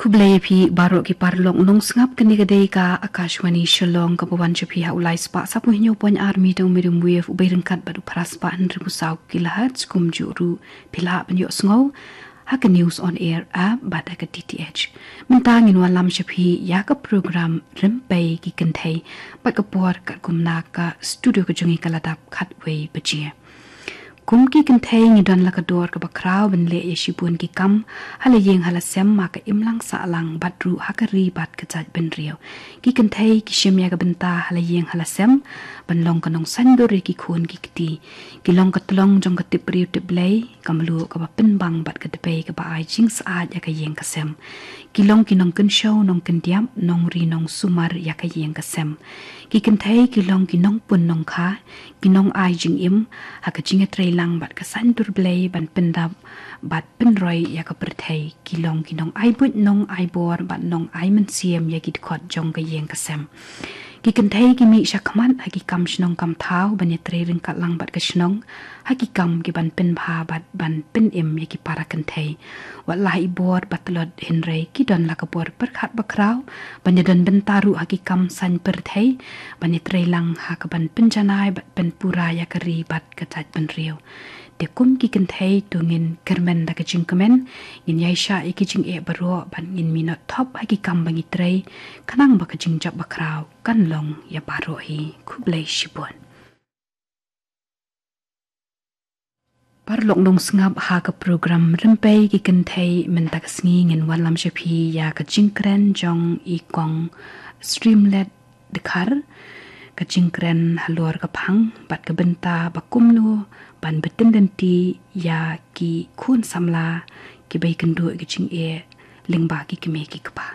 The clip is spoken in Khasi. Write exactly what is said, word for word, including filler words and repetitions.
Khublei ïa phi baroh ki paralok nongsngap. Kane ka dei ka Akashvani Shillong kaba wan sha phi ha u lai spah saphew hynñiew point ar meter u medium wave u bei ryngkat bad u phra spah hynriew phew saw kilohertz. Kumjuh ruh phi lah ban ïohsngew ha ka News on Air app bad ha ka D T H. Mynta ngin wallam sha phi ïa ka program Rympei ki Kynthei bad ka por katkum na ka studio ka jong ngi ka la dap khatwei baje. Kum ki kynthei ngi don la ka dor kaba khraw ban leh ïa shibun ki kam ha la ïing ha la sem, ha ka imlang sahlang bad ruh ha ka ri bad ka jaitbynriew. Ki kynthei ki shim ïa ka bynta ha la ïing ha la sem ban long ka nongsaiñdur ïa ki khun ki kti. Ki long ka tlong jong ka tip briew tip Blei, ka mluh kaba pynbang bad ka dpei kaba ai jingsaid ïa ka ïing ka sem. Ki long ki nongkynshew nongkyndiap, nongri nongsumar ïa ka ïing ka sem. Ki kynthei ki long ki nongpun nongkha, ki nongai jingim ha ka jingïatreilang bad ka saiñdur Blei ban pyndap bad pynroi ïa ka pyrthei. Ki long ki nongai buit nongai bor bad nongai mynsiem ïa ki dkhot jong ka ïing ka sem. Ki kynthei ki mih shakhmat ha ki kam shnong kam thaw ban ïatrei ryngkat lang bad ka shnong ha ki kam ki ban pynbha bad ban pynim ïa ki para kynthei. Wat la i bor ba tlot hynrei ki don la ka bor pyrkhat ba khraw ban ïadon bynta ruh ha ki kam saiñ pyrthei, ban ïatrei lang ha ka ban pynjanai bad pynpura ïa ka ri bad ka jaitbynriew. Te kum ki kynthei to ngin kyrmen da ka jingkmen, ngin ïaishah ïa ki jingeh baroh bad ngin minot thop ha ki kam ba ngi trei, khnang ba ka jingjop ba khraw kan long ïa baroh hi. Khublei shibun. Paralok nongsngap, ha ka program Rympei ki Kynthei mynta ka sngi ngin wallam sha phi ïa ka jingkren jong i Kong Streamlet Dkhar, ka jingkren halor ka phang bad ka bynta ba kumno ban btin lynti ïa ki khun samla kiba ïakynduh ïa ka jingeh lyngba ki kmie ki kpa.